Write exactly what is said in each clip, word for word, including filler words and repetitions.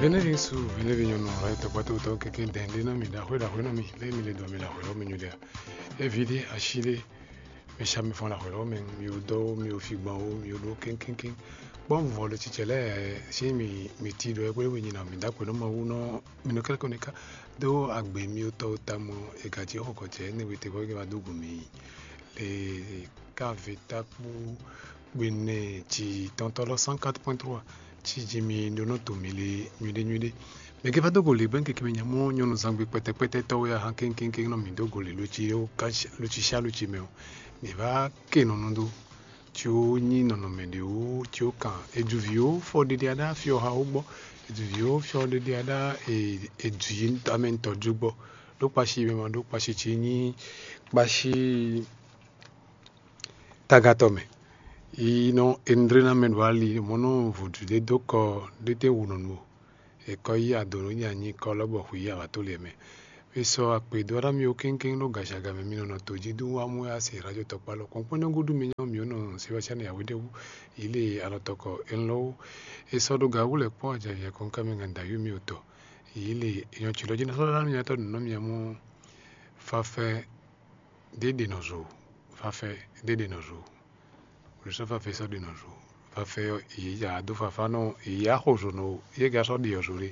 Venez bien sous, venez bien non, là, t'as pas tout le temps quelqu'un d'indé non, mais d'après, d'après, non, mais là, mais les doigts, mais là, là, mais nous, là, éviter, acheter, mais ça me font la, là, mais, mais au dos, mais au figban, mais au dos, ken, ken, ken. Bon, voilà, tu sais, là, si, mais, mais tu dois, oui, oui, non, mais d'après, non, mais ou non, mais nous, quelque, on est cas, do, agbe, mais au taux, tamo, et gâtier, au côté, ne, oui, t'es, oui, va, do, gumi, les, cave, tapu, Gbɛnɛ ci tɔntɔ́ lɔ cent quatre point trois, ci ji mi ɖó nɔ to mi le nyuɖé nyuɖé. Mɛ ke va dó go lě bɔ keke mɛ nya mɔ nyɔnu zangbe kpɛtɛkpɛtɛ tɔ́ wɛ ahan kéŋkéŋkéŋ nɔ mǐ dó go lě luci ó, luci sá luci mɛ ɔ́, mǐ vá ke nɔ nɔ dó. Ci ó nyí nɔnɔmɛ ɖě ó, ci ó kan, è ju vǐ ó fɔ ɖeɖe aɖá fyɔ ha ó gbɔ, è ju vǐ ó fyɔ ɖeɖe aɖá è ju yi amɛ ŋutɔ́ ju gbɔ, ɖó kpashi mɛ ma ɖó kpashi ci nyí kpashi tagatɔ mɛ. Yi nɔ Endré ná mɛ ɖo ali mɔ nɔ vodú ɖé dó kɔ ɖé tɛ́ wu nɔ nu o. È kɔ yí ado nɔ nyi anyi kɔ lɔ bɔ xwǐ yi awǎ tó lɛ mɛ. È sɔ akpě dó aɖá mì ó kéŋkéŋ ɖó gashi aga mɛ mì nɔ nɔ to jí dó wá mú wɛ asi radio tɔkpá lɔ kɔn kpɔ́n nɛ́ gúdú mi nyɔ́ mǐ ó nɔ Sebastian Yawédéwu yi lě alɔ tɔkɔ elɔ́ wú. È sɔ ɖó gǎwú lɛ́ kpɔ́n ajavǐ akɔnká mɛ gan dǎyú mì ó tɔ yi lě è nyɔ tsi lɔ jí ná sɔ́ ɖó aɖá mì nyatɔ́ nǔ nɔ mì amú fafɛ ɖě ɖe nɔ zo, fafɛ ɖě ɖe nɔ zo. Wlǐsɔ́ fafɛ sɔ́ ɖe nɔ zo. Fafɛ ɔ́, yě ya dó fafá nɔ yě ya xo zo nɔ yě ga sɔ́ ɖi ɔ́ zo lé.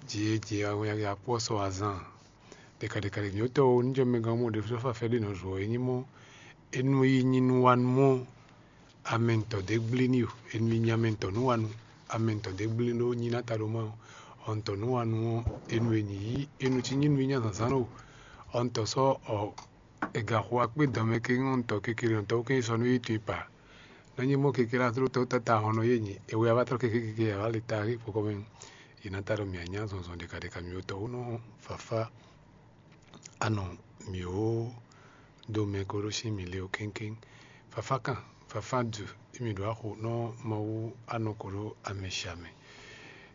Jǐ e jǐ awɛ ya kpɔ́ sɔ́ azán. Ɖeka ɖeka ɖe nyɔ̌tɔ́ o ní jɔ mɛ gán mɔ ɖě sɔ́ fafɛ ɖe nɔ zo ɔ́, é nyí mɔ é nú yi nyi nú wa nú mɔ amɛntɔ ɖě gblí ní o, è nɔ yi nyi amɛntɔ nú wa nú amɛntɔ ɖě gblí ɖó nyi ná ta ɖo má o. Ɔntɔ nú wa nú ɔ́, è nɔ e nyi yí è nɔ cí nyí nú yi nya zǎnzǎn o. Ɔntɔ sɔ́ ɔ è ga xo akpé dɔn mɛ ke ŋɔ́ ntɔ kekele ɔntɔ ké sɔ nú yi tun pa. Nɔ nyí mɔ kekele atló tɔ́ tata hɔn nɔ yé nyi è wɛ a va tlɔ́ keke keke a va le ta rí kpɔkɔ mɛ. Yi ná ta ɖo mǐ anya zɔnzɔn ɖeka ɖeka mǐ wotɔ wú nɔ fafa. Anɔ mǐ wó dó mɛ kóɖó sín mǐ lé ó kéŋkéŋ. Fafá kan, fafá du, émí ɖó axo nɔ Mawu anɔ kóɖó amɛ sia mɛ.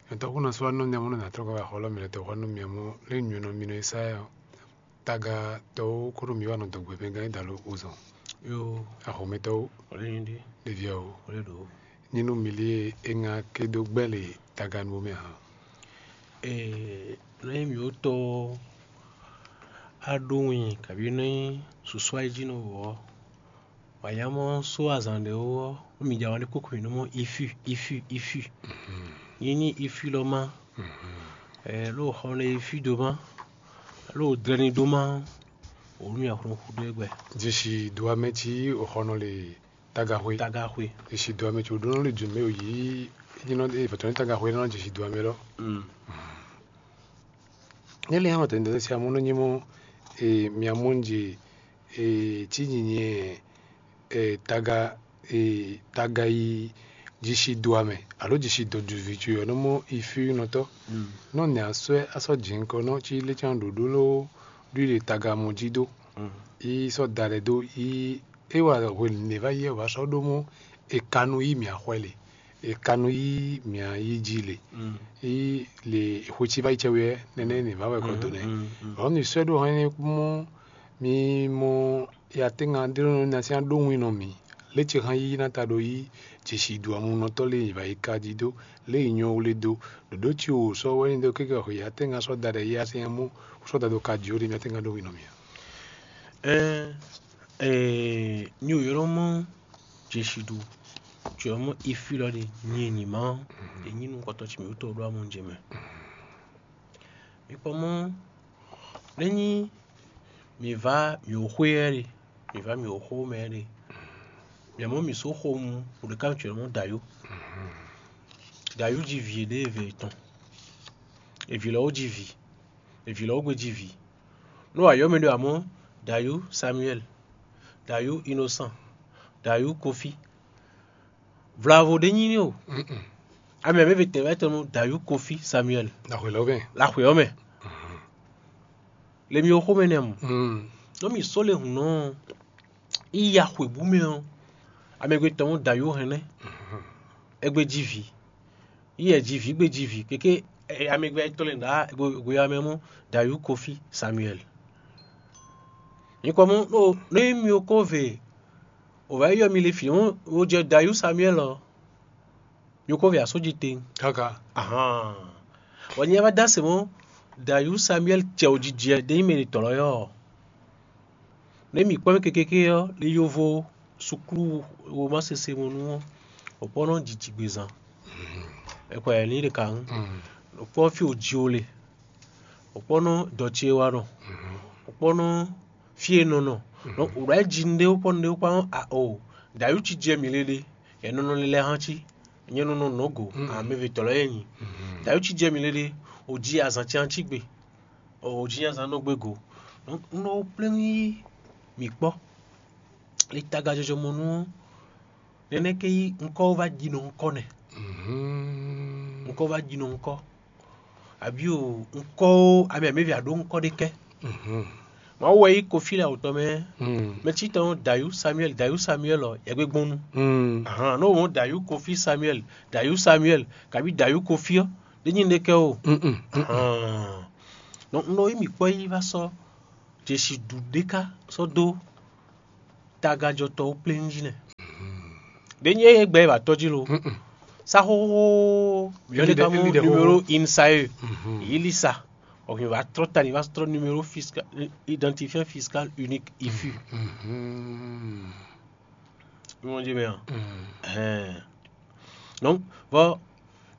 Nyɔ̌tɔ́ kú nɔ sɔ́ anɔ nyamɔ nɔ nǎ tlɔ́ gbɛ́ axɔ́lɔ́ mǐtɔn xɔ nú mì mɔ lé nywɛ́nɔ mì nɔ e sá ɛ ɔ́, tagatɔ́ ó kóɖó mǐ wá nɔ dɔgbɛ mɛ gán é dalo wozɔn. Yo, axɔmɛtɔ́ ó, ɔlɛ nyí ɖi, ɖevi ɔ́ ó, ɔlɛ ɖo. Nyinú mǐ lé e ŋa ké dó gbɛ́ le taga nú mɛ hǎn. Ee, nɔ nyí mǐ wótɔ́ á ɖó win kabǐ nɔ nyí susu ayíjínɔ wǒ ɔ́, wǎ nyá mɔ sú azǎn ɖé ó ɔ́, mǐ jɛ wǎn ɖé kókó mǐ nɔ mɔ ifí ifí ifí. Nyí ní ifí lɔ má, ɛ ló xɔ nɛ ifí dó má, ló dlɛ́ ní dó má, wǒ nú mì axɔ́ xú dó é gbɛ. Jesi do amɛ cí òxɔnɔ le tagaxwe. Tagaxwe. Jesi do amɛ cí òɖónɔ le dùn mɛ òyí, é nyí nɔ é vɔtɔ ní tagaxwe nɔ jesi do amɛ lɔ. Mm. Nɛ́ lɛ́ɛ hɛn wɛ tɛ̌ ní dɛ́ sí amɔ́ nɔ nyí mɔ e mia mɔ nje e cí nyinyi e taga e taga yi jisi do amɛ alo jisi dɔ duvi co ɔ́ nɔ mɔ ifínɔtɔ́. Nɔ nɛ asɔ́ asɔ́ jǐnkɔ nɔ cí lécán ɖǒɖó ló ɖu ɖe taga mɔ jí dó. Yi sɔ́ da ɖɛ dó yi é wa hwenu nɛ va yi wɛ wǎ sɔ́ ɖó mɔ è ka nú yí mǐa xwɛ le, è ka nú yí mǐa yí jí le. Yí le xwe cí va yi cɛ wɛ nɛnɛ nɛ va wɛ kɔ do nɛ. Ɔ́ mi sɔ́ ɖó hɛn mɔ mi mɔ ya tɛ́ngan ɖé nɔ ná sín aɖó wín nɔ mì. Lě ce hɛn yí ná ta ɖo yí jesi do amunɔtɔ́ lé yi va yi ka jí dó lě yi nyɔ wlé dó ɖǒɖó ci wò sɔ́ wɛ ní dó kéke xɔ ya tɛ́ngan sɔ́ da ɖɛ yí asɛn mɔ sɔ́ da ɖo ka jí ó ɖe mi atɛ́ngan ɖó wín nɔ mì a. Ɛɛ, ɛɛ, nyi wò ylɔ́ mɔ jesi ɖu, jɔ mɔ ifi lɔ ɖe nyi nyima ɔ́, e nyi nukɔntɔn ci mǐ wútu ɖó amɔ jɛ mɛ. Mi kpɔ mɔ, ne nyi mi va mi wò xwé ɛ ɖe, mi va mi wò xó mɛ ɛ ɖe, mi mɔ mi só xo mu wò ɖeka mi cɛ mɔ dayó. Dayó ji vǐ ɖé eve tɔn, evi lɔ wó ji vǐ, evi lɔ wó gbe ji vǐ. Nú ayɔ́ mɛ ɖé amɔ̌, dayú Samuel, dayú Innocent, dayú Kofi. Vlavo ɖé nyí ní o. Amɛ mɛ ve tɛn wɛ tɔn nú dayú Kofi Samuel. Laxwe lɔ mɛ. Laxwe ɔ́ mɛ. Le mi xó mɛ nɛ mu. Nɔ mi só le hun nɔ. Iya xwebú mɛ ɔ́. Amɛ gbe tɔn nú dayú hɛn nɛ. Egbe ji vǐ. Iyɛ ji vǐ gbe ji vǐ kéké amɛgbɛ tɔn lɛ ɖá go ya mɛ mɔ dayú Kofi Samuel. Nyikɔ mɔ ɖo nɔ yi mi ko ve o va yi yɔ mi le fi mɔ o jɛ dayú Samuel ɔ. Mi ko ve asó ji tɛn. Kaka. Ahan. Bɔ nyɛ wá dó asě mɔ̌, Dayú Samuɛ́li cɛ wǒjijɛ ɖé nyí mɛ e tɔ̌ lɔ yɔ́ ɔ́. Nɛ̌ mǐ kpɔ́n mɛ kekeke ɔ́, le yovo suklú womá sese mɔnú ɔ́, wǒ kpɔ́n nɔ jǐjǐgbezán. È kɔ yɛ ní ɖe kǎ ŋu. Wǒ kpɔ́n fí wǒ ji wo le. Wǒ kpɔ́n nɔ dɔ ce wa nɔ. Wǒ kpɔ́n nɔ fí e nɔ nɔ. Nɔ wǒ ɖɔ é ji nɖé wó kpɔ́n nɖé wó kpɔ́n a o. Dayú cí jɛ mǐ le ɖe. Yɛ nɔ nɔ lɛ́ hán cí. Nyɛ nɔ nɔ nɔ go. Amɛvitɔ́ lɛ́ɛ nyí. Dayú cí jɛ mǐ le ɖe. Wǒ ji azǎn cán cí gbe. Wǒ ji azǎn nɔ gbe go. Nɔ nɔ plɛ́n yí mǐ kpɔ́. Le taga jɔjɔ mɔnú ɔ́, nɛnɛ́ ké yí ŋkɔ́ wó vá ji nɔ ŋkɔ́ nɛ. Ŋkɔ́ wó vá ji nɔ ŋkɔ́. Abǐ o, ŋkɔ́ ó, ami amɛ́vi a ɖǒ ŋkɔ́ ɖé kɛ́. Mawu wɛ yí Kofi lɛ awutɔ mɛ. Mɛ cí tɔn Dayú Samuɛ́li, Dayú Samuɛ́li ɔ, yɛgbégbɔ́nú. Ahan, nɔ wǒ Dayú Kofi Samuɛ́li, Dayú Samuɛ́li, kabí Dayú Kofi ɔ́, ɖé nyí ɖé kɛ́ o. Ahan. Donc un ɖɔ yí mǐ kpɔ́ yí vá sɔ́ Jesu ɖu ɖé ká sɔ́ dó tagajɔtɔ́ wú plé njí nɛ́. Ɖé nyí é gbɛ é ba tɔ́ jí lo. Sa xóxó yɔ́ ɖé ka mɔ numéro INSAE. Yí lí sa. Ɔhìn wá trɔ́ ta ní wá trɔ́ numéro fiscal, identifiant fiscal unique IFU. Ìmọ̀ jẹ́ mɛ a? Ɛhɛn. Donc vɔ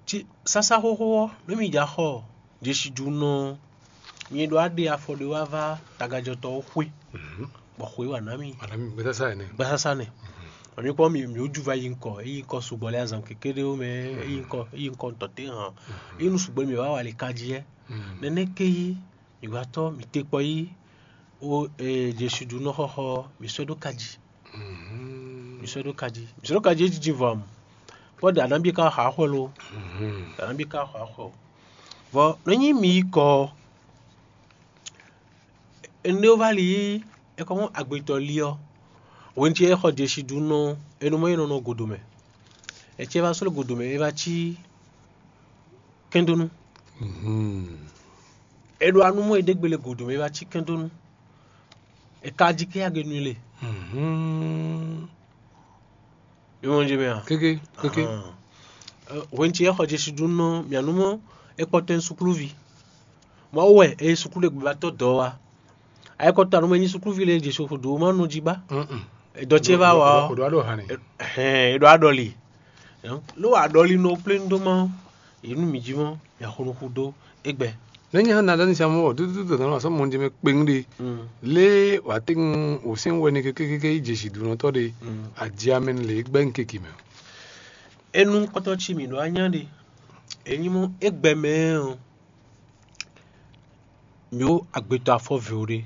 ci sásá xóxó ɔ́, nú mi ja xɔ Jesu ɖu nɔ, mi ɖo aɖe afɔ ɖé wá vá tagajɔtɔ́ ɔ́ xwé, bɔ xwé wà ná mi. Gbɛsásá ɛnɛ. Gbɛsásá nɛ. Ami kpɔ́n mi mi wó ju va yi ŋkɔ, é yi ŋkɔ sugbɔ lɛ azan kékeré mɛ, é yi ŋkɔ é yi ŋkɔ ŋutɔ té hàn. É nu sugbɔ mi wá wà lɛ ka jí ɛ. Nɛnɛ ké yí mi wá tɔ mi té kpɔ yí ó Jesu ɖu nɔ xɔxɔ mi sɔ́ ɖó ka jí. Mi sɔ́ ɖó ka jí. Mi sɔ́ ɖó ka jí é jiji vɔ amu. Kpɔ́ ɖe anábí ka xɔ axɔ lo. Ɖe anábí ka xɔ axɔ. Vɔ nɔ nyí mi yi kɔ ɔ, énɛ́ wó vá li yí é kɔ mɔ agbetɔ li ɔ́, hwenu ce é xɔ Jesu ɖu nɔ é nɔ mɔ é nɔ nɔ godo mɛ. É ce vá sló godo mɛ é vá cí kɛndónú. É ɖo anú mɔ é ɖégbélé godo mɛ é vá cí kɛndónú. É ka jí ké agenu le. Ìmọ̀ jẹ́ mɛ a? Kéké, kéké. Hwenu ce é xɔ Jesu ɖu nɔ mìanú mɔ é kpɔtɛn sukluvi. Mawu wɛ é suklu ɖe gbɛbatɔ dɔ wa. Ayikɔta nú mɛ nyi sukluvi lɛ Jesu xo ɖo ma nɔ jí ba. Dɔ ce va wa ɔ. Hɛn é ɖo aɖɔli. Ló wa aɖɔli nɔ plé nu dó ma. Yě nu mǐ jí mɔ mǐ axɔnuxu dó égbɛ. Nɛ́ nyí hán Nadáni siamɔ wɔ dúdúdú dɔ̌n asɔ́ mɔjɛmɛ kpewún ɖe. Lě wǎ tɛ́ngun wǒ sɛ́n wɛ ni kékékéké yi jɛ zǐdunɔtɔ́ ɖe. Aji amɛ lě gbɛ́ nkéki mɛ. Enu kɔtɔ ci mǐ ɖó anyá ɖe. È nyí mɔ égbɛ mɛ ɔ́, mǐ ó agbetɔ afɔvǐ ó ɖe.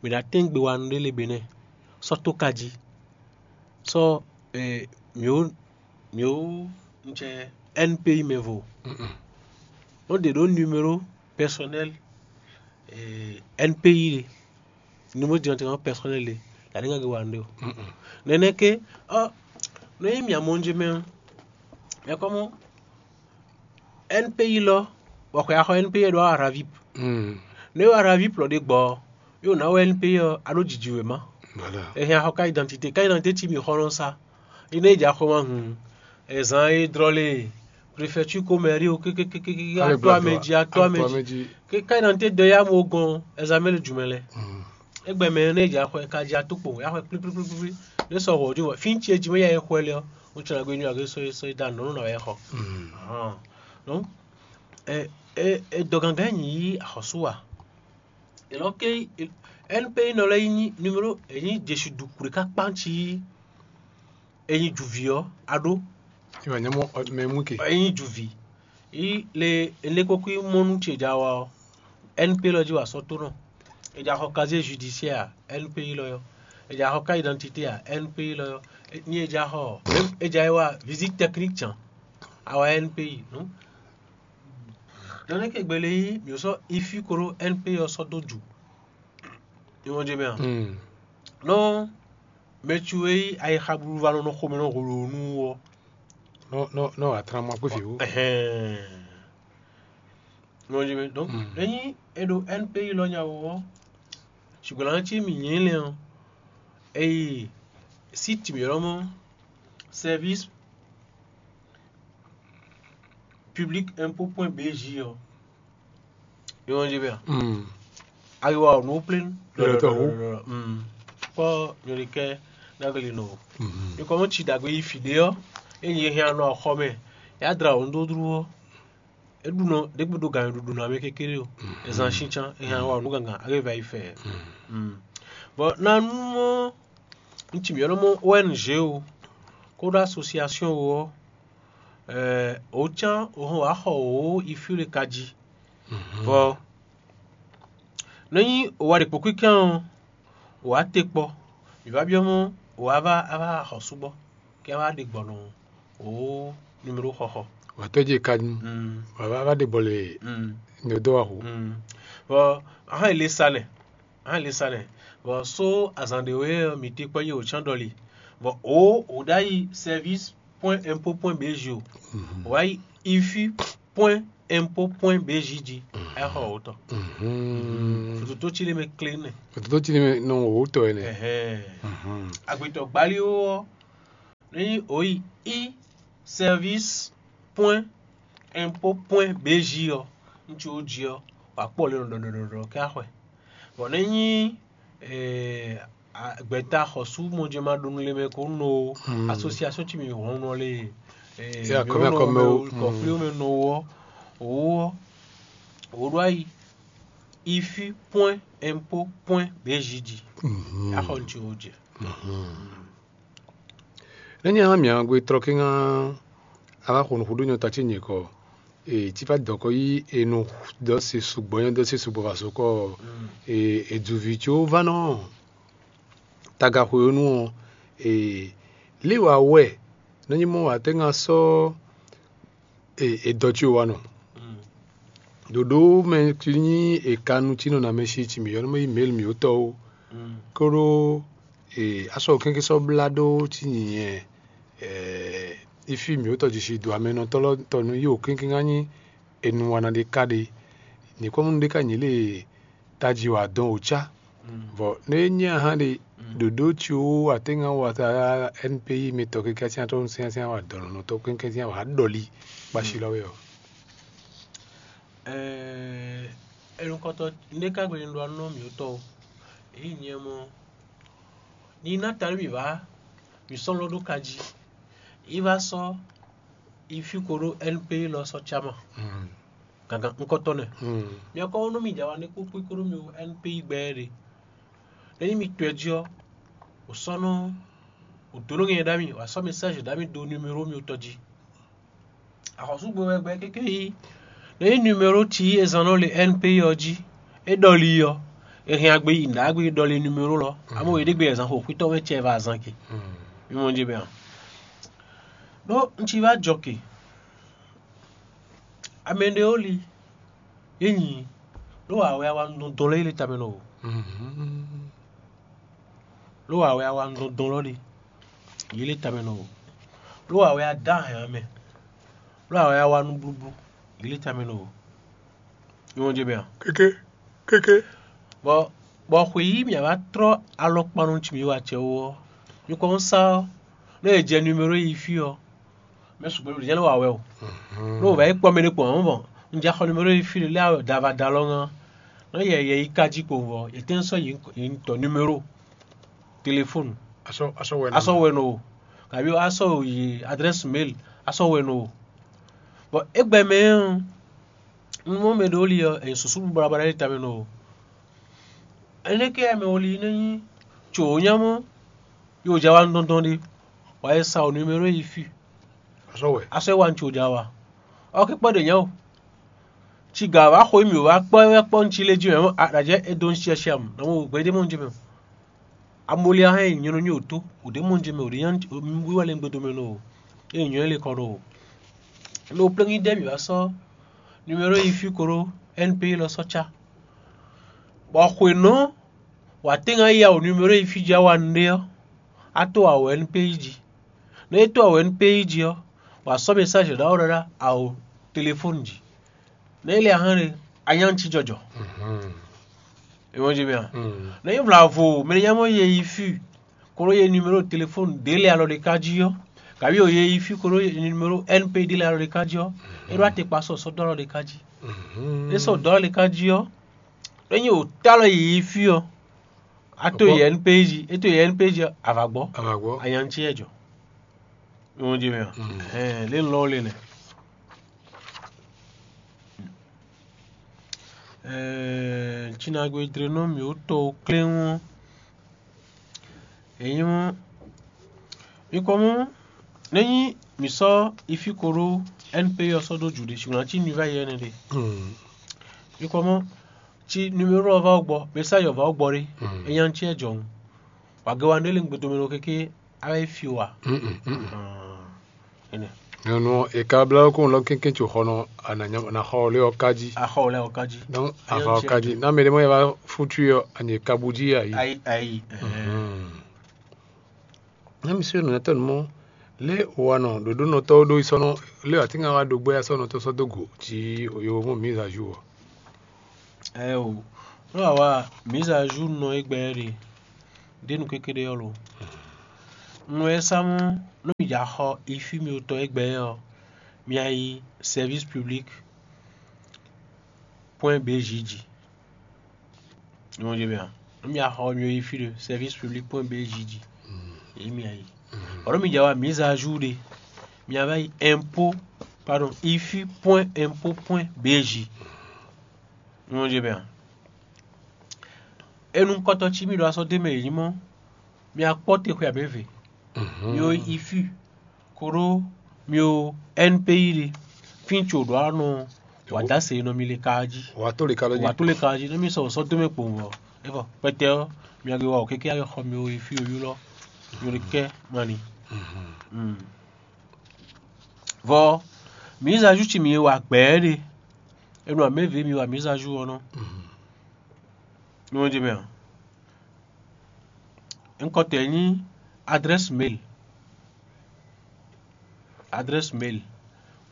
Mǐ ná tɛ́n gbe wa nú ɖé le benɛ́. Sɔ́ tó ka jí. Sɔ́ mǐ ó mǐ ó un cɛ N P I mɛ vo. Nɔ ɖe ɖó numéro personnel N P I ɖe. Numéro directement personnel ɖe. La ɖe ŋa ge wa nɖe o. Nɛnɛ ke ɔ nɔ yi mia mɔ nje mɛ ɔ. Mɛ kɔ mɔ N P I lɔ bɔ xɔ ya xɔ N P I ɖo Aravip. Nɔ yi Aravip lɔ ɖe gbɔ ɔ, yóò ná wɛ N P I ɔ a ɖó jiji wěma. Ehɛn axɔ ka identité ka identité ci mi xɔ nɔ sa. Ine ja xɔ ma hun. Ezan e drɔ le préfecture ko mairie o kékékékéké ato amɛ ji ato amɛ ji. Ke ka identité de ya mo gɔn ezan mɛ le jumɛ lɛ. Egbe mɛ ne ja xɔ ka ja to kpo ya xɔ kplikplikplikpli. Ne sɔ hɔ di wɔ fin ce ji mɛ ya ye xɔ le ɔ. O tsɔ na gbe nyu age so so da nɔ na ya xɔ. Donc e e e dɔ gangan nyi yi axɔsu wa. Elɔ ke N P I nɔ lɛ yi nyi numéro e nyi Jesu du kure ka kpan ci. Enyi juvi ɔ aɖó. Ìwà nyɛmɔ mɛ mú ke. Enyi juvi yi le enekpokui mɔnu ce ja wa ɔ N P lɔ ji wa sɔ tonɔ. Eja xɔ casier judiciaire a N P lɔ yɔ. Eja xɔ carte d'identité a N P lɔ yɔ. Ni eja xɔ eja yi wa visite technique can awa N P nu. Nane ke gbele yi mi sɔ ifi koro N P ɔ sɔ do ju. Ìwọ̀n jẹ mɛ a? Nɔ mɛ tsu e yí ayixa blu va nɔ nɔ xomɛ nɔ holo nu ɔ. Nɔ nɔ nɔ atran ma kpé fi wo. Ɛhɛn. Ìwọ̀n jẹ mɛ donc enyi e ɖo N P I lɔ nya wɔ ɔ. Ṣùgbọ́n tí mi nyɛ lɛ ɔ, eyi site mi lɔ mɔ service public impôt point B J ɔ. Yɔn jí bɛ. Mm. Ayiwa ɔnu plénu. Yɔtɔ hu. Mm. Kpɔ nyɔlikɛ dagli nɔ. Mm. Ikɔ mɔ tsi dagbe yi fi ɖe ɔ, enyi ehe anɔ xɔ mɛ, ya dra ɔnu dó dru ɔ, eɖu nɔ ɖe gbe ɖo gan ɖuɖu nɔ amɛ kékeré o. Ezan shincan ehe anɔ ɔnu gangan ake va yi fɛ. Mm. Bɔ nanu mɔ ŋutsi mi ɔnɔ mɔ O N G o, kódó association o ɔ, ɛ o can o hɔn wá xɔ o ifi le ka jí. Vɔ nɔ nyi o wa ɖe kpokpíkan ɔ, o wa te kpɔ, mi va byɔ́ mɔ o wa va a va xɔ súgbɔ kɛ a va ɖe gbɔnɔ o numéro xɔxɔ. Wà tɔ́ jí ka nu. Mm. Wà va va ɖe bɔlɛ Mm. Ne dó wa ho. Mm. Vɔ ahɔn ele sa nɛ, ahɔn ele sa nɛ. Vɔ so azan ɖe wɛ mi te kpɔ yi o can dɔli. Vɔ o o ɖa yi service point impôt point B J o. Wa yi ifi point impôt point B J jí. Ɛ xɔ o tɔ. Fototo tsi le mɛ kle nɛ. Fototo tsi le mɛ nɔ o tɔ yɛ nɛ. Ɛhɛn. Agbetɔ gbali o ɔ, ni o yi i service point impôt point B J ɔ, ŋutsu o jí ɔ, wa kpɔ le nɔ dɔdɔdɔdɔ kɛ axɔɛ. Bɔn ne nyi gbɛta xɔsú mɔjɛmaɖonu lé mɛ ko nɔ association ci mi hɔn nɔ lé. Akɔmɛ akɔmɛ o. Kɔfliwo mɛ nɔ wɔ o wɔ o ɖo ayi ifi point impôt point B J jí. Axɔ ŋutsu o jɛ. Nɛ́ nyí ahán mǐ agbe tlɔ́ kéŋá a wá xo nǔ xúɖú nyɔ ta ce nyǐkɔ e tí fá dɔ̌nkɔ yí e nɔ dɔ́ se sugbɔ nyɔ dɔ́ se sugbɔ vǎ sokɔ e e dzuvi có vá nɔ tagaxweyonu ɔ́ e lě wa wɛ nɛ́ nyí mɔ wǎ tɛ́ ŋá sɔ́ e e dɔ ce wa nɔ ɖoɖo mɛ ci nyí e ka nu ci nɔ na mɛ si ci mǐ yɔ nú mɛ yi mail mǐ wótɔ ó kóɖó e asɔ kɛ́nkɛ́n sɔ́ blá ɖó ci nyǐnyɛ ifi mǐ wótɔ ji si do amɛnɔtɔ́ lɔ tɔ nú yi wǒ kɛ́nkɛ́n ká nyí enu wana ɖé ká ɖe. Nyǐkɔ́mɔnú ɖé ká nyǐ lě taji wǎ dɔn wǒ cá. Vɔ nú é nyí ahán ɖe ɖoɖó ci wú atɛ́nga wata N P I mɛ tɔ kɛ́kɛ́ sín atɔ́ sín sín wá dɔn nɔ tɔ kɛ́kɛ́ sín wá ɖɔli kpasi lɔ wɛ ɔ. Ɛnukɔtɔ ndé ká gbe ɖɔ nɔ mǐ tɔ o. Èyí nyɛ mɔ ní ná ta nú mǐ vá mǐ sɔ́ lɔ ɖó ka jí. Yi vá sɔ́ yi fí ko ɖó N P I lɔ sɔ́ cá ma. Gangan ŋkɔtɔ́ nɛ. Mia kɔ nú mi jɛ awa nɛ kpókpó kóɖó mi N P I gbɛ ɖe. Ényí mi tɔɛ jí ɔ́, wǒ sɔ́ nɔ wǒ dó nú nyɛ ɖ'ami, wǒ sɔ́ mɛsázi ɖ'ami dó numéro mi tɔn jí. Axɔ́súgbɛ́gbɛ́ kéké yí. Ényí numéro ci e zán nɔ le N P I ɔ́ jí, é ɖɔli ɔ́, è hɛn agbe yi nǔɖagbe ɖɔli numéro lɔ. Amɔ yě ɖě gbe zán xo xwítɔ́ wɛ cɛ va azán ke. Mi mɔ jí bɛ a? Ɖó un ci va jɔ ke. Amɛ ɖe ó li, é nyi, ɖó wǎ wɛ a wa nɔ dɔn lɛ́ yi le tamɛ nɔ o. Ɖó wǎ wɛ a wa nɔ dɔn lɔ ɖe, yi le tamɛ nɔ o. Ɖó wǎ wɛ a dá hɛn amɛ. Ɖó wǎ wɛ a wa nú blúblú, yi le tamɛ nɔ o. Nyɔ́ jɛ mɛ a? Kéké, kéké. Bɔ bɔ xwe yí mǐ wá trɔ́ alɔkpa nɔ ci mǐ wa acɛ wú ɔ́, mi kɔn sá ɔ́, nú è jɛ numéro yi fí ɔ́, mɛ sukpɔ́ ɖo jɛ́n lɛ́ wa wɛ o. Nú wǒ va yi kpɔ́ mɛ ɖé kpɔ́n ɔ́, mɔ̌, un jɛ xɔ numéro yi fí lě lɛ́ dava da lɔ ŋá. Nú yɛ yɛ yi ka jí kpowun vɔ, yě tɛ́n sɔ́ yi tɔ numéro téléphone. Asɔ asɔ wɛ asɔ wɛ nɔ o, kabi asɔ yi adresse mail asɔ wɛ nɔ o. Bɔ égbɛ mɛ ɔ́, un mɔ mɛ ɖé li ɔ́, è susu bɔ bɔ ɖe tamɛ nɔ o. Énɛ́ ké mɛ woli nɛ nyí tso wǒ nya mɔ, yi wǒ ja wa nɔ dɔn ɖe, wǎ yi sa wǒ numéro yi fí. Asɔ wɛ. Asɔ wɛ wa ntso ja wa. Ɔ ké kpɔ ɖe nya o. Ci ga wa xo mi wa kpɔ wɛ kpɔ ntsi lé jí mɛ mɔ aɖajɛ e do ntsi asi am. Na mo gbɛdé mɔ ntsi mɛ. Amoli ahɛn yi nyɔnɔ nyi wǒ tó, wǒ ɖe mɔ ntsi mɛ, wǒ ɖe nya wíwá lɛ gbɛdo mɛ nɔ o. E nyɔ le kɔ ɖo o. Lo plɛ́ngi ɖe mi va sɔ́ numéro yi fí koro N P I lɔ sɔ́ cá. Bɔ xwěnɔ wǎ tɛ́nga yi awo numéro yi fí jí awa nɖé ɔ́, a tó awo N P I jí. Nú é tó awo N P I jí ɔ́, wǎ sɔ́ mɛsázi ɖaxó ɖaɖa awo telefóni jí. Nú é lɛ ahán ɖé, a nyá ŋ cí jɔjɔ. È mɔ jí mɛ a? Nú é vla vo mɛ nyá mɔ yɛ yi fí, kolo yɛ numéro téléphone ɖě lɛ alɔ ɖé ká jí ɔ́, Kabi o ye yi fí ko ɖó numéro N P ɖé lɛ́ɛ alɔ ɖé ká jí ɔ́, é ɖó atekpa sɔ sɔ́ dó alɔ ɖé ká jí. É sɔ́ dó alɔ ɖé ká jí ɔ́, é nyí wǒ tá alɔ yi yi fí ɔ́, a to yi N P jí, é to yi N P jí ɔ́, a vǎ gbɔ, a vǎ gbɔ. Anyaŋ ce yɛ jɔ. Ìwọ̀n jɛ mɛ a? Ɛɛ, lé lɔ le nɛ. Ɛɛ, Cinagbe dlenɔ mǐ wú tɔ kléwɔn. Èyí mɔ, mi kɔ mɔ, nɛ́ nyí mǐ sɔ́ ifi ko ɖó N P ɔ́ sɔ́ dó jǔ ɖé, sixú ná cí nuva yɛ ɛnɛ ɖé. Mi kɔ mɔ, cí numéro ɔ́ vá wú gbɔ, message ɔ́ vá wú gbɔ ɖé, é nyí acɛ jɔhún. Wǎ gé wa nú é lé un gbe domɛ nɔ kéké, a wá yi fí o a? Énɛ́. Nyɔnu ɔ́, è ka blá kó lɔ́ kɛ́nkɛ́n tso xɔ nɔ, a nǎ nya- nǎ xɔ lé ɔ́ ká jí. A xɔ lɛ ɔ́ ká jí. Donc, a xɔ ɔ́ ká jí. Ná mɛ ɖé mɔ yɛ wá fútu ɔ́, a nyi ka bú jí a yí. Ayi, ayi. Ná mi sɔ́ nǔnátɔ́ nú mɔ lé wa nɔ ɖoɖónɔtɔ́ ɖó yi sɔ́ nɔ lé atínga wa ɖo gbɛ́ sɔ́ nɔ tɔ́ sɔ́ dó go jí yo mɔ mise à jour ɔ́. Ɛɛ o, nú a wa mise à jour nɔ é gbɛ ɖe, ɖé nu kékeré ɔ́ lo. Nú ɛ sá mɔ nú mi ja xɔ ifi mi tɔn é gbɛ ɔ́, mi a yi service public point B J jí. Ìwọ̀n jɛ mɛ a? Nú mi a xɔ mi yi fí ɖe service public point B J jí. Èyí mi a yi. Ɔ́ nú mi ja wa mise à jour ɖe, mi a va yi impôt, pardon, ifi point impôt point B J. Ìwọ̀n jɛ mɛ a? Enu kɔtɔ cí mi ɖo asɔ dé mɛ yě nyí mɔ, mi a kpɔ́ te xwe abě ve. Mi o ifi koɖó mi o N P I ɖe, fín tso ɖo anɔ wǎ dó ase nɔ mi le ka jí. Wǎ tó le ka lɔ jí. Wǎ tó le ka jí, nú mi sɔ sɔ́ dó mɛ kpowun ɔ́, é vɔ kpɛtɛ ɔ́, mi a gbe wa o kéké ayɔ xɔ mi o ifi o ylɔ́ mi o ɖe kɛ mani. Vɔ mise à jour ci mi wa gbɛɛ ɖe, enu amɛ ve mi wa mise à jour ɔ́ nɔ. Nú ɔ́ jɛ mɛ a? Ŋkɔtɔ́ ɛ nyí adrɛ́si mail, adrɛ́si mail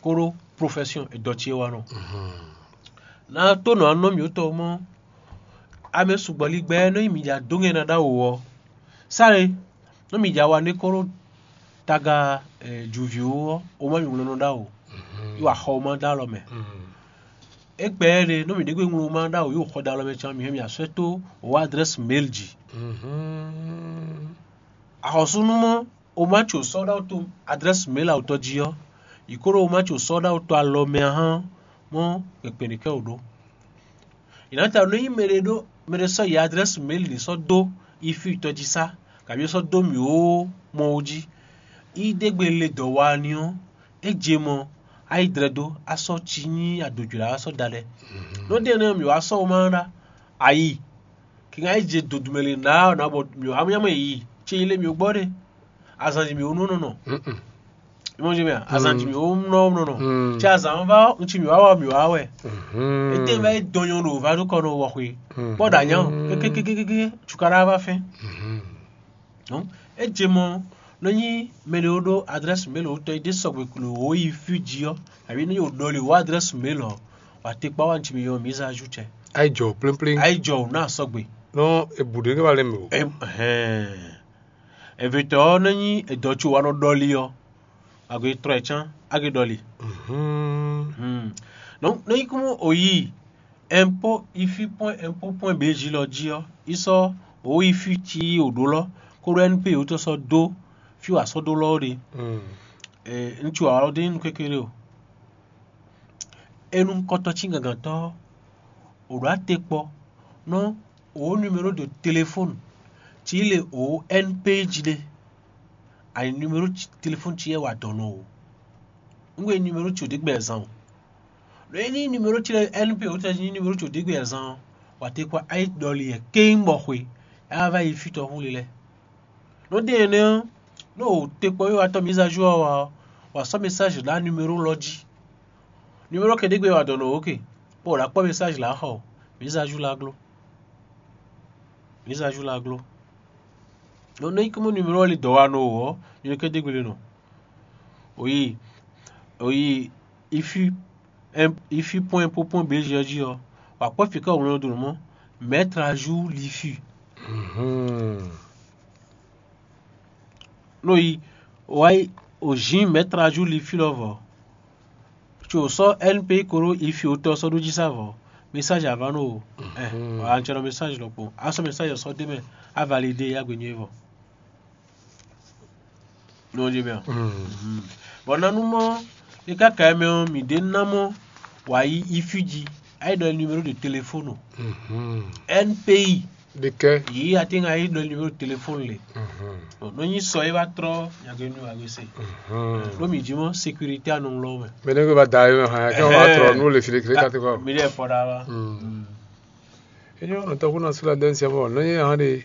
kóɖó profɛsiyɔn e dɔ ce wa nɔ. Ná tó nɔ anɔ mǐ tɔn mɔ amɛ sugbɔ ligbɛ nɔ nyi mǐ ja dó ŋɛ ná ɖó awo ɔ́, sáré nɔ mǐ ja wa nú kóɖó taga jǔví ɔ́, o má mǐ wlɔ́ nɔ ɖó awo, yi wa xɔ o má dó alɔ mɛ. Égbɛ́ ɖé nú mǐ ɖě gbe ŋló ma ɖó awǒ yi xɔ ɖo alɔ mɛ can mǐ hɛn mì asɔ́ tó wǒ adrɛ́si mail jí. Axɔ́súnú mɔ o má tso sɔ́ ɖó awǒ tó adrɛ́si mail awǒtɔ́ jí ɔ́, yi kó ɖó o má tso sɔ́ ɖó awǒ tó alɔ mɛ ahán mɔ kpɛkpɛ ɖě kɛ wǒ ɖó. È nǎ ta nú nyí mɛɖé ɖó mɛɖé sɔ́ yi adrɛ́si mail ɖě sɔ́ dó yi fí tɔjí sá, kabí é sɔ́ dó mǐ ó mɔ ó jí. Yi ɖé gbe le dɔ̌ wa ní ɔ́, é je mɔ, á yi dlɛ́ dó, á sɔ́ cí nyí adǒjlá, á sɔ́ da lɛ. Nɔ́ ɖe énɛ́ ɔ́, mǐ wá sɔ́ womá ɖá, ayi, kingan é je dodumɛ le nǎ ɔ́ ná bɔ mǐ wá nyá mɔ yi, ce yi lé mǐ ó gbɔ ɖe, azǎn jí mǐ ó nɔ nɔ nɔ. Ìmọ̀ jẹ́ mẹ́, azǎn jí mǐ ó nɔ nɔ nɔ. Cɛ azǎn ɔ́ vá ɔ́, un cí mǐ wá wá mǐ wá wɛ. Étɛ́ vá é dɔn nyɔ́ ɖo vá ɖó kɔ nɔ wɔ xwe. Kpɔ́ ɖo anyá ɔ́, kékékékéké, cukaɖá vá fɛ́n. Nɔ́ é je mɔ nɔ nyí mɛ ɖé ó ɖó adrɛ́si mail wǒ tɔn yi ɖé sɔgbe klo wǒ yi fí jí ɔ́, abǐ nɔ nyí wǒ ɖɔli wǒ adrɛ́si mail ɔ́, wǎ te kpá wá nci mi yɔ mǐ zán ajoutɛ. Ayi jɔ plínplín. Ayi jɔ wǒ ná sɔgbe. Nɔ ebǔ ɖé ní wá lɛ́ mɛ o. Ɛhɛn. Evě tɔ́ ɔ́ nɔ nyí edɔ co wá nɔ ɖɔli ɔ́, agbe trɔ ɛ cán, a gbe ɖɔli. Donc nɔ nyí kún o yi impôt ifi point impôt point bj lɔ jí ɔ́, yi sɔ́ wǒ yi fí cí wǒ ɖó lɔ, kóɖó N P wǒ tɔn sɔ́ dó fí wǎ sɔ́ dó lɔ ɔ́ ɖe. Ŋutsu ǎ ɔ́ ɖe nyí nú kékeré o. Enu kɔtɔ́ cí gǎngǎntɔ́ ɔ́, wǒ ɖó atekpɔ nɔ wǒ numéro de téléphone cí le wǒ N P jí ɖe. Ani numéro téléphone cí yɛ wa dɔ̌n nɔ o. Un gbe numéro cí o ɖě gbɛ zán o. Nɔ é ní numéro cí lɛ́ɛ N P wǒ tɛ́ nyí numéro cí o ɖě gbɛ zán ɔ́, wǎ te kpɔ́ ayé ɖɔli yɛ kéŋ bɔ xwe, é wá vá yi fí tɔn xú le lɛ́ɛ. Nɔ ɖe énɛ́ ɔ́, nú o te kpɔ́ wíwatɔ́ mise à jour ɔ́ wa ɔ́, wǎ sɔ́ message ɖó numéro lɔ jí. Numéro ke ɖé gbe wa dɔ̌n nɔ o ke, bɔ wǒ ná kpɔ́ message lǎ xɔ o, mise à jour la gló. Mise à jour la gló. Nɔ nɔ nyí kúmú numéro ɔ́ li dɔ̌ wa nɔ o ɔ́, numéro ke ɖé gbe le nɔ. Oyi, oyi, ifi, ifi point po point B G ɔ́ jí ɔ́, wǎ kpɔ́ fǐ ká wǒ nɔ ɖo nǔ mɔ, mettre à jour l'ifi. Nɔ yi, wǎ yi, O zin mɛtráju li fí lɔ vɔ. Tso sɔ N P I koro ifi o tɔ sɔ ɖó jí sa vɔ. Message avá no o. Eh, an tsɔ message lɔ kpo. A sɔ message sɔ dé mɛ. A validé ya gbe nyuie vɔ. Non je bien. Bon, nanu mɔ e kaka mɛ ɔ mi de na mɔ wa yi ifi jí. Ayi ɖɔ numéro de téléphone. N P I. Ɖekɛ. Yi ati ŋa yi ɖɔ numéro de téléphone le. Bon, no nyi sɔ e va trɔ nyagbe nu agbe se. Ɖo mi jí mɔ sécurité anɔ ŋlɔ mɛ. Mɛ ne ko va da yɔ hã kɛ wa trɔ nu le fili kile kati kɔ. Mi ɖe fɔ ɖa wa. Enyo no tɔkun na sula den se mɔ no nyi hã de.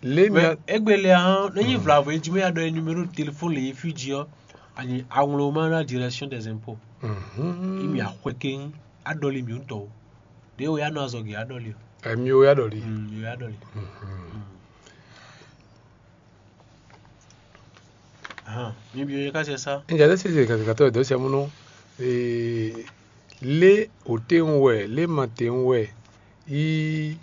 Le mi. Egbe le hã no nyi vlavo e jí mɛ ya ɖɔ numéro de téléphone le yi fi jí ɔ. Ani aŋloma na direction des impôts. Imi axwe ke adɔli mi ŋutɔ o. Ɖe o ya nɔ azɔgi adɔli o. Emi o ya ɖɔli. Mm, yo ya ɖɔli. Ahan, mi bi yo ka se sa. N jɛ ɖe sisi kɛkɛtɔ ɖo sɛ munɔ. Lé o te ŋu wɛ lé ma te ŋu wɛ yi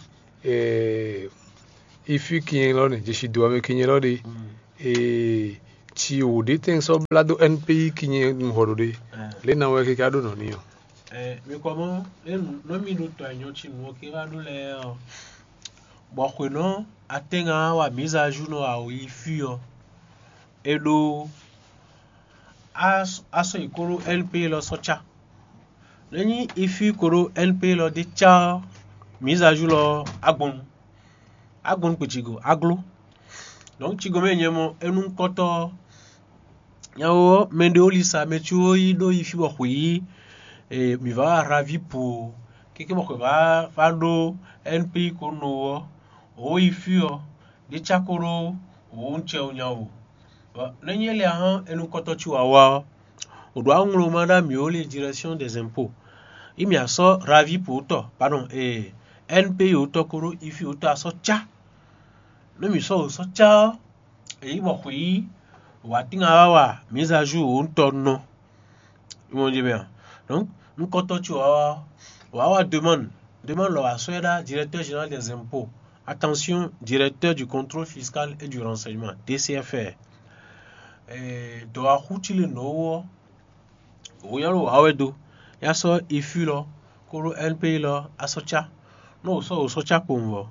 ifi kinyɛ lɔ ne jesi do ame kinyɛ lɔ ɖe. Ci wò ɖe tɛn sɔ bla do N P I kinyɛ nu hɔ ɖo ɖe. Lé na wɛ keke aɖo nɔ ni ɔ. Mi kɔ mɔ enu nɔ mi ɖo tɔ enyɔ ci nu ɔ ke va ɖo lɛ ɔ. Bɔ xwěnɔ atɛ́nga wa mǐza júnɔ awo yi fí ɔ, é ɖó á sɔ́ yi kó ɖó N P lɔ sɔ́ cá. Nɛ̌ nyí ifí ko ɖó N P lɔ ɖé cá ɔ́, mǐza júnɔ agbɔnnu agbɔnnu kpecigo agló. Donc cigo mɛ nyɛ mɔ enukɔtɔ ɔ́, nyawo ɔ́, mɛɖé ó lisa mɛ cí ó yi ɖó yi fí bɔ xwǐ mǐ vá wá Ravi po ɔ, kéké bɔ xwě vá vá ɖó N P ko no ɔ́, wǒ yi fí ɔ́, ɖé cá ko ɖó wǒ un cɛ nya o. Nɛ́ nyí éliahán enukɔtɔ́ cí wǎ wá ɔ́, wǒ ɖó aŋloma ɖó amǐ ó lé direction des impôts. Yi mǐ asɔ́ Ravi po tɔ, pardon, N P o tɔ ko ɖó ifi o tɔ asɔ́ cá. Nú mǐ sɔ́ wǒ sɔ́ cá ɔ́, èyí bɔ xwǐ wǎtín wá wa mǐza ju wǒ un tɔ nɔ. Imɔ je mɛ a? Donc, nukɔntɔn ci wá wá wá wa demande. Demande lɔ wá sɔ́ ɛ ɖá directeur général des impôts. Attention, directeur du contrôle fiscal et du renseignement, D C F R. Dɔ̌wáxú ci le nɔ̌ wú ɔ́, wǒ nyɔ́ ɖo wǎ wɛ dó. Yá sɔ́ ifi lɔ kóɖó N P lɔ asɔ́ cá. Nú wǒ sɔ́ wǒ sɔ́ cá kpowun vɔ.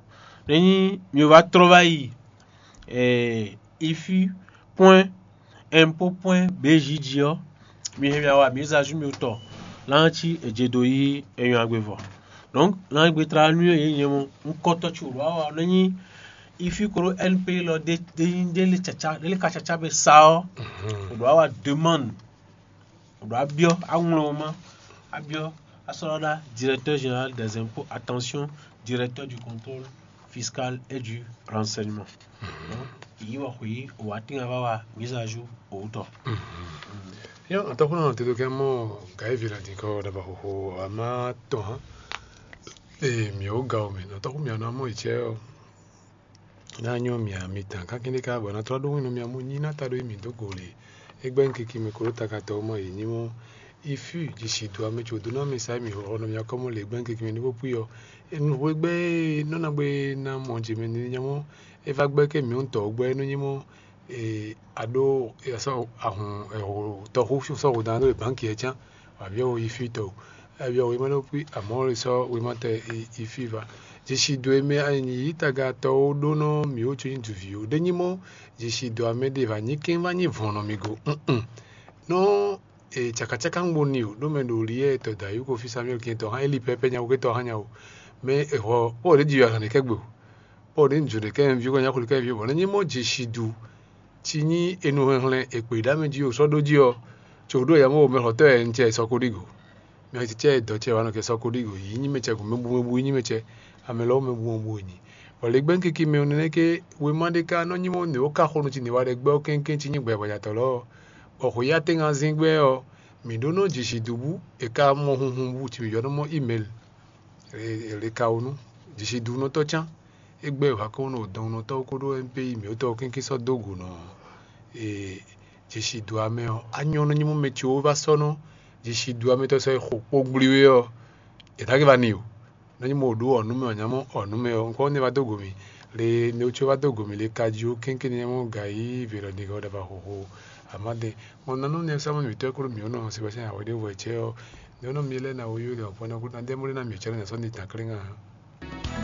Nɛ́ nyí mi wá trɔ́ wá yi ifi pwɛ́n impôt pwɛ́n B J jí ɔ́, mi hɛn mì awa mǐ zazú mi tɔ láncí è je dó yí enyɔ agbe vɔ. Donc lángbé tlá nú yě nyɛ mɔ un kɔtɔ ci wǒ awa nɛ́ nyí ifi klo N P lɔ ɖé ɖé nyí ɖé lé caca ɖé lé ka caca bɛ sa ɔ́, wǒ ɖó awa demande, wǒ ɖó abyɔ́ aŋlɔma abyɔ́ asɔ́lɔ́ɖá directeur général des impôts, attention, directeur du contrôle fiscal et du renseignement. Donc yí wɔ xwǐ wǒ wá tín ava wa mise à jour wǒ tɔ. Yɔ atɔkùnrin àwọn tètè kẹ́ mọ́ gàí vìlà dín kọ́ dàbà xòxò àmà tɔn hàn. Ee mì ó ga o mì nɔ tɔkùn mì àná mọ́ ìtsẹ́ ɔ. Ná nyɔ mì àmì tàn kákíndé ká bɔ ná tlɔ́ ɖó wínú mì àmú nyí ná ta ɖó mì dó go lě. É gbɛ́ un kiki mì kó ɖó takatɔ mɔ yě nyí mɔ. Ifí jǐ si do amɛ tso dó ná mì sá mì xɔ nɔ mì akɔ́ mɔ lě gbɛ́ un kiki mì ní bó pwí ɔ. Nǔxwé gbɛ́ nɔ́ ná gbé ná mɔ jě mɛ ní nyamɔ. É vá gbɛ́ ké mì ń tɔ gbɛ́ nú nyí mɔ. Aɖó sɔ́ ahun tɔxú sɔ́ hǔn dán ɖó bánki ɛ cán, abǐ ɔ yi fí tɔ o, abǐ ɔ yi ma ɖó pí amɔ̌ sɔ́ wema tɛ yi fí va. Jǐ si do e mɛ anyi yǐ tagatɔwo ɖó nɔ mǐ wú có nyí duví ó. Ɖé nyí mɔ́, jǐ si do amɛ ɖé va nyí kɛ́n va nyí vɔ̌n nɔ mì go. Nɔ cakacaka ń gbo ni o, ɖó mɛ ɖo li yɛ tɔ da yú ko fí Samuel kí tɔ hán Eli pɛpɛ nya ko tɔ hán nya o. Mɛ e xɔ pɔ́ ɖě ji yɔ azɔn ɖe kɛ́ gbe o. Pɔ́ ɖě ń jǒ ɖe kɛ́ ví ko nya xwlé kɛ́ ví bɔ nɛ nyí mɔ́ jǐ si du. Ci nyí enu hɛnhlɛn è kpě ɖó amɛ jí o sɔ́ ɖó jí ɔ́, co ɖó yamɔ̌ mɛxɔtɔ́ wɛ un cɛ sɔ́ ko ɖígo. Mɛ ce cɛ dɔ̌ cɛ wa nɔ kɛ sɔ́ ko ɖígo, yǐ nyí mɛ cɛ gun mɛ bu mɛ bu yí nyí mɛ cɛ, amɛ lɔ́ mɛ bu mɛ bu wɛ nyi. Bɔ lě gbɛ́ kiki mɛ ɔ́ nɛnɛ́ ké wěma ɖé ka nɔ nyí mɔ nǔ e wó ka xo nú ci nǔ e wa ɖɛ gbɛ́ ɔ́ kɛ́nkɛ́n ci nyí gbɛ̌gbɛ́jatɔ́ lɔ ɔ́, bɔ xweyíatɛ́ngan zín gbɛ́ ɔ́, mǐ ɖó nɔ jǐ si dú bú è ka mɔ hunhun bú ci mǐ yɔ́ nɔ mɔ imɛl. È le ka wú nú jǐ si dú nɔ tɔ́ cán. É gbɛ́ wěwákɔ́nɔ ɖo dɔnnɔtɔ́ kódó N P I mǐtɔn kɛ́nkɛ́n sɔ́ dó gǔ nɔ jǐ si dú amɛ ɔ́, á nyɔ́ nú nyí mɔ mɛ ce wó vá sɔ́ nɔ jǐ si dú amɛ tɔn sɔ́ yi xo kpó gblí wé ɔ́, è nǎ gé va ni o. Nɔ nyí mɔ ɖó ɔ̌ nú mɛ ɔ́ nyá mɔ ɔ̌ nú mɛ ɔ́, un kɔ nɛ va dó go mì le ne wú ce wá dó go mì le ka jí ó kɛ́nkɛ́n nɛ mɔ gǎ yí vǐ lɔ ɖi hɔ ɖaba xóxó. Amade, ɔn nanu ne sama mi tɔ kuru mi ono Sebastian awe de vɔ cɛ ɔ, ne ono mi lɛ na wo yo de ɔpɔ na kuru na de mo na mi cɛ na so ni tan klinga.